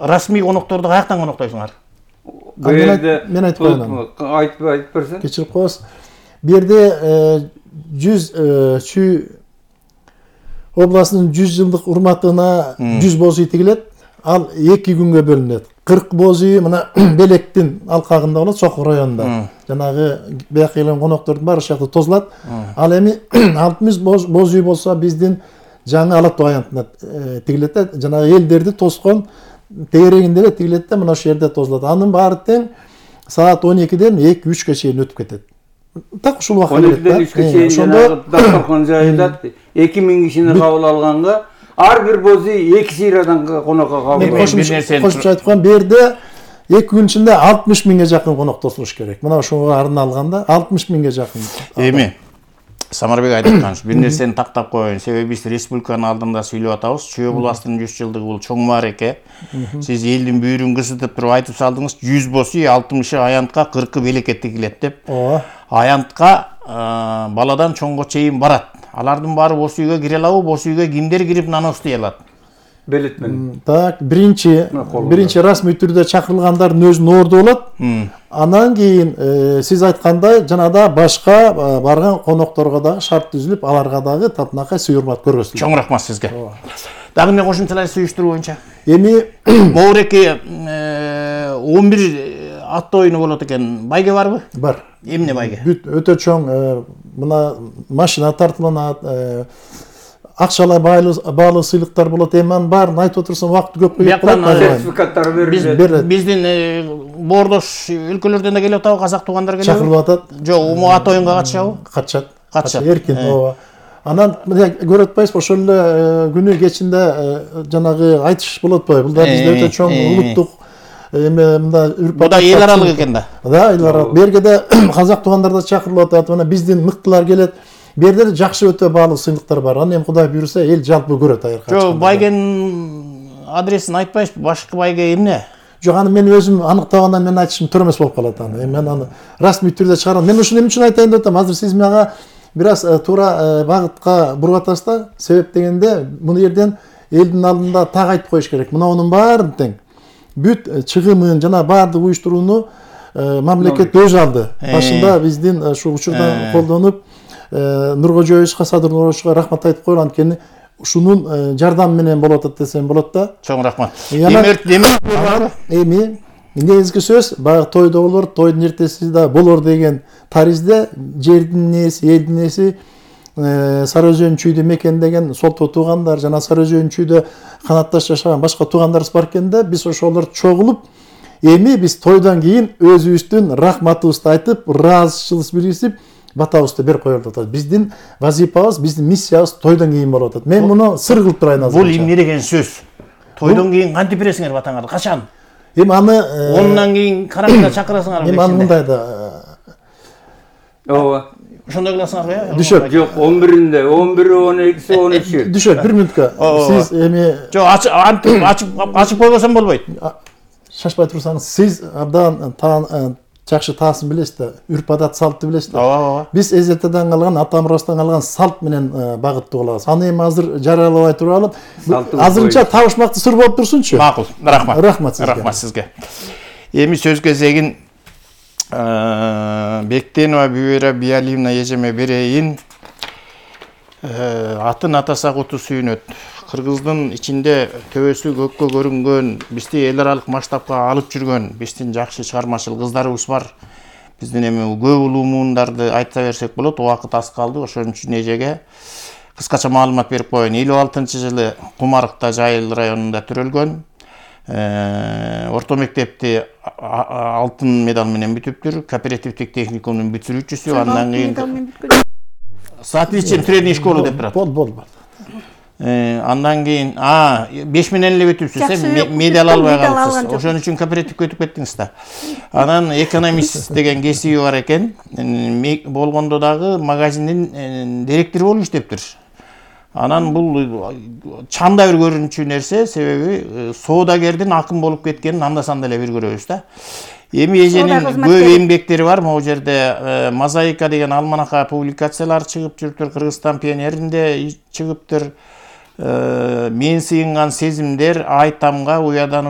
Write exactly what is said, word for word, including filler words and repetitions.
расмий конокторду каяктан коноктойсуңар? Мен айтпайм. Айтып айтып берсең. Кечирип коесуз. Бу жерде жүз Чүй областынын жүз жылдык урматына жүз боз үй тигилет. Ал эки күнгө бөлүнөт. кырк боз үй мына Белектин алкагында болот, Чокур районунда. Жанагы бияка келген коноктордун баары ошол жакта тозулат. Ал эми алтымыш боз үй болсо биздин жаңы Ала Тоо аянтына тигилет да, жанагы элдерди тоскон тегерегинде эле тигилет да, мына ошол жерде тозулат. Анын баары тең саат он экиден эки үчкө чейин өтүп кетет. Так ушул убакта он экиден үчкө чейин жанагы дастархан жайылат. эки миң кишини кабыл алганга ар бир боз үй эки сыйрадан конокко кабыл алат. Кошумча айтып коем, бу жерде эки күн ичинде алтымыш миңге жакын конок тосулуш керек. Мына ошого арналганда алтымыш миңге жакын. Эми Самарбек айткан бир нерсени тактап коеюн. Себеби биз республиканын алдында сүйлөп атабыз. Чүй областынын жүз жылдыгы бул чоң маареке. Сиз элдин бүйүрүн кысытып туруп айтып салдыңыз, жүз боз үй, алтымышы аянтка, кыркы Белекке тигилет деп. Аянтка баладан чоңго чейин барат. Алардын баары боз үйгө кире алабы? Боз үйгө кимдер кирип нан устуй алат? Белет менен. Так, биринчи биринчи расмий түрдө чакырылгандардын өзүнүн орду болот. Анан кийин сиз айткандай жанагы башка барган конокторго дагы шарт түзүлүп, аларга дагы татынакай сый урмат көргөзүлөт. Чоң рахмат сизге. Дагы эмне кошумчалар сүйүштүрүү боюнча? Эми Моуреке он бир ат оюну болот экен. Байге барбы? Бар. Эмне байге? Бүт өтө чоң мына машина тартылат, акчалай баалуу сыйлыктар болот. Эми анын баарын айтып отурсам убакыт көп кетет. Сертификаттар берилет. Биздин боордош өлкөлөрдөн да келип атабы, казак туугандар келиби? Чакырылып атат. Жок, уму ат оюнга катышабы? Катышат. Катышат. Эркин, ооба. Анан көрүп атпайсызбы, ошол эле күнү кечинде жанагы айтыш болот атпайбы? Бул да бизде өтө чоң улуттук эме мында үрп бу да эл аралык экен да. Да, эл аралык. Бу жерге да казак туугандар да чакырылып атат. Мына биздин мыктылар келет. Бу жерде жакшы өтө баалуу сыйлыктар бар. Аны эми Кудай буйруса, эл жалпы көрөт айыркы. Жок, байгенин адресин айтпайсызбы? Башкы байге эмне? Жок, аны мен өзүм аныктагандан мен айтышым туура эмес болуп калат аны. Мен аны расмий түрдө чыгарам. Мен ушуну эмне үчүн айтайын деп атам? Азыр сиз мага бир аз туура багытка буруп атасыз да. Себеп дегенде, муну жерден элдин алдында так айтып коюш керек. Мынунун баарын тең бүт чыгымын жана баардык уюштурууну мамлекет өзү алды. Башында биздин ушул учурдан колдонуп Нуркожоевичке, Садыр Нуркожоевичке рахмат айтып коелу, анткени ушунун жардамы менен болуп атат десем болот да. Чоң рахмат. Эми негизги сөз баягы тойдо болор, тойдун эртеси да болор деген таризде жердин ээси, элдин ээси Сары Өзөн Чүйдү мекендеген солто туугандар жана Сары Өзөн Чүйдө канатташ жашаган башка туугандарыбыз бар экен да, биз ошолор чогулуп эми биз тойдон кийин өзүбүздүн рахматыбызды айтып, ыраазычылык билдирип, батабызды берип коелу атат. Биздин вазифабыз, биздин миссиябыз тойдон кийин болуп атат. Мен муну сыр кылып турайын азыр. Бул эмне деген сөз? Тойдон кийин кантип бересиңер батаңарды? Качан? Эми аны ондан кийин караңгыда чакырасыңарбы? Эми аны мындай да. Ооба. Ошондой кыласыңарбы э? Дүшөт. Жок, он биринде, он бири, он экиси, он үчү. Дүшөт, бир мүнөткө. Сиз эми жок, антип ачып ачып койбосом болбойт. Шашпай турсаңыз, сиз абдан жакшы таасын билесиз да, үрп адат салтты билесиз да. Ооба. Биз эзертеден калган, ата-мурастан калган салт менен багыттуу болобуз. Аны эми азыр жарыялабай туралып, азырынча табышмактуу сыр болуп турсунчу. Макул. Рахмат. Рахмат сизге. Рахмат сизге. Эми сөз кезегин Бектенова Бүбөйра Биалиевна эжеме берейин. Атын атаса куту сүйүнөт. Кыргыздын ичинде төбөсү көккө көрүнгөн, бизди эл аралык масштабка алып жүргөн биздин жакшы чыгармачыл кыздарыбыз бар. Биздин эми көп улуу муундарды айта берсек болот, убакыт аз калды. Ошон үчүн эжеге кыскача маалымат берип коеюн. элүү алтынчы жылы Кумарыкта, Жайыл районунда төрөлгөн. Орто мектепти алтын медаль менен бүтүптүр. Кооперативдик техникумдун бүтүрүүчүсү, андан кийин Соответственно средний школу деп турат. Бол, бол, бол. Андан кийин а беш менен эле бүтүпсүз, медаль албай калыпсыз. Ошон үчүн кооперативге өтүп кеттиңиз да. Анан экономист деген кесиби бар экен. Болгондо дагы магазиндин директору болуп иштептир. Анан бул чанда бир көрүнчү нерсе, себеби соодагердин акын болуп кеткенин анда-санда эле бир көрөбүз да. Эми эженин көп эмгектери бар. Могу жерде Мозаика деген алманака публикациялар чыгып жүрүптүр, Кыргызстан пионеринде чыгыптыр. Мен сыйынган сезимдер, Айтамга, Уядан